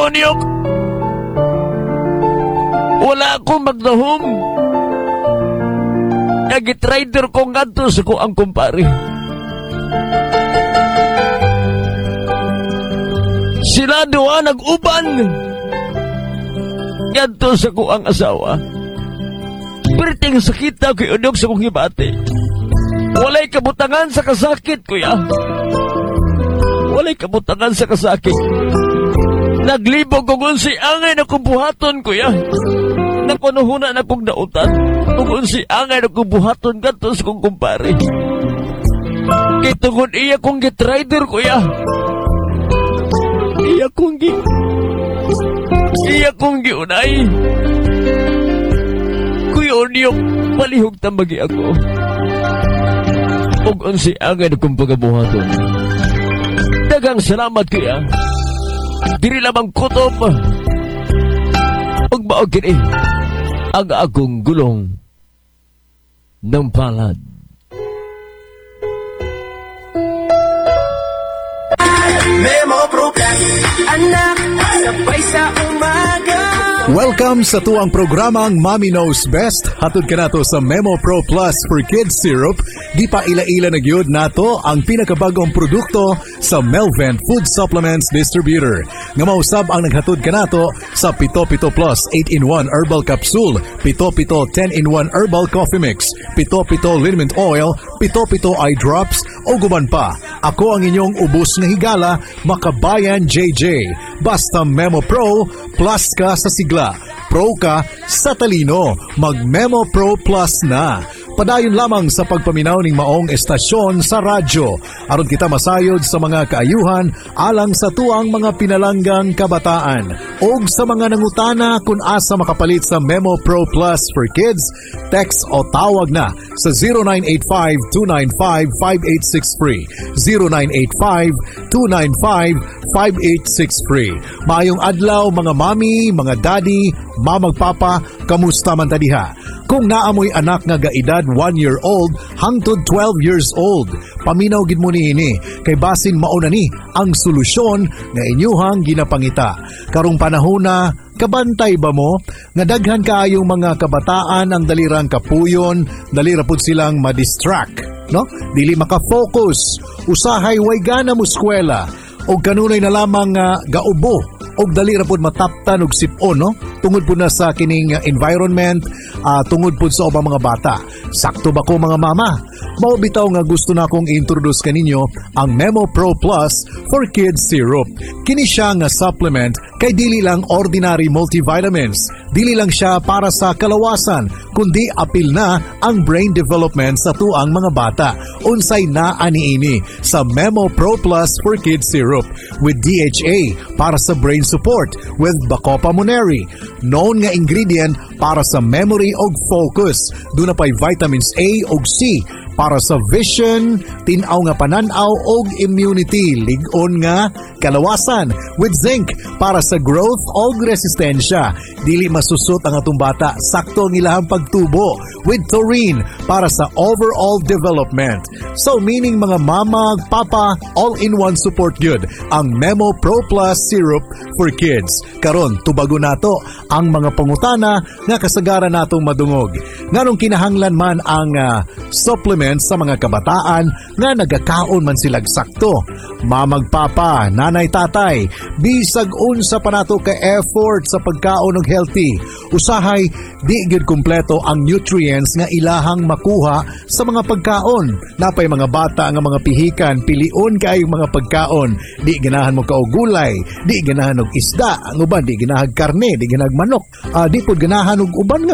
Kuya Onyok, wala akong magdahom. Nag-trader ko ngadto sa ko ang kumpare. Sila duha nag-uban ngadto sa ko ang asawa. Perting sakita, Kuya Onyok, sa kong hibati. Walay kabutangan sa kasakit, kuya. Walay kabutangan sa kasakit. Naglibog kung unsi angay na kong buhaton, kuya. Nakunuhuna na kong dautan. Kung unsi angay na kong buhaton ngadto sa kong kumpare. Kay tungod iya kong gitrider, kuya. Iya kong giunay. Kuya Onyok, palihog tambagi ako. Og unsi angay na kong pagabuhaton. Daghang salamat, kuya. Diri lamang kutob. Ug mao kini ang akong gulong ng palad. Memo Pro Plus, anak, sabay sa umaga. Welcome sa tuang programang Mommy Knows Best. Hatod ka nato sa Memo Pro Plus for Kids Syrup. Di pa ila-ila na gyud nato ang pinakabagong produkto sa Melvent Food Supplements Distributor. Nga mausab ang naghatod kanato sa Pito Pito Plus 8-in-1 Herbal Capsule, Pito Pito 10-in-1 Herbal Coffee Mix, Pito Pito Liniment Oil, Pito Pito Eye Drops, o guban pa. Ako ang inyong ubos nga higala, Makabayan JJ. Basta Memo Pro, plus ka sa sigla. Pro ka sa talino. Mag Memo Pro Plus na. Padayon lamang sa pagpaminaw ning maong estasyon sa radyo. Aron kita masayod sa mga kaayuhan alang sa tuang mga pinalanggang kabataan. Og sa mga nangutana kung asa makapalit sa Memo Pro Plus for Kids, text o tawag na sa 0985-295-5863. 0985-295-5863. Maayong adlaw, mga mami, mga daddy, mamag papa, kamusta man ta diha? Kung naamoy anak nga gaedad 1 year old hangtod 12 years old, paminaw gid mo niini kay basin mauna ni ang solusyon nga inyuhang ginapangita. Karong panahona, kabantay ba mo nga daghan kaayong mga kabataan ang dalirang kapuyon, dalira pud silang ma-distract, no? Dili maka-focus, usahay way gana mo eskwela, og kanunay na lamang nga gaubo og dali ra pud mataptan og sipon, no? Tungod pud na sa kining environment, tungod pud sa ubang mga bata. Sakto ba ko, mga mama? Mao bitaw nga gusto na akong introduce kaninyo ang Memo Pro Plus for Kids Syrup. Kini siya nga supplement kay dili lang ordinary multivitamins, dili lang siya para sa kalawasan, kundi apil na ang brain development sa tuang mga bata. Unsay naa niini sa Memo Pro Plus for Kids Syrup? With DHA para sa brain support, with Bacopa Moneri, known nga ingredient para sa memory og focus. Duna pay vitamins A og C para sa vision, tin-aw nga panan-aw og immunity, lig-on nga kalawasan, with zinc para sa growth og resistensya. Dili masusot ang atong bata, sakto ang ilahang pagtubo, with taurine para sa overall development. So meaning, mga mama, papa, all-in-one support good ang Memo Pro Plus Syrup for Kids. Karon, tubago nato ang mga pangutana nga kasagaran natong madungog. Nganong kinahanglan man ang supplement sa mga kabataan nga nagakaon man silag sakto? Mamag papa, nanay tatay, bisag unsa pa nato ka effort sa pagkaon og healthy, usahay di gyud kumpleto ang nutrients nga ilahang makuha sa mga pagkaon. Napay mga bata nga mga pihikan, pilion kaayo mga pagkaon. Di ganahan mo kaog gulay, di ganahan og isda, ang uban di ganahan karne, di ganahan manok, di pud ganahan og uban nga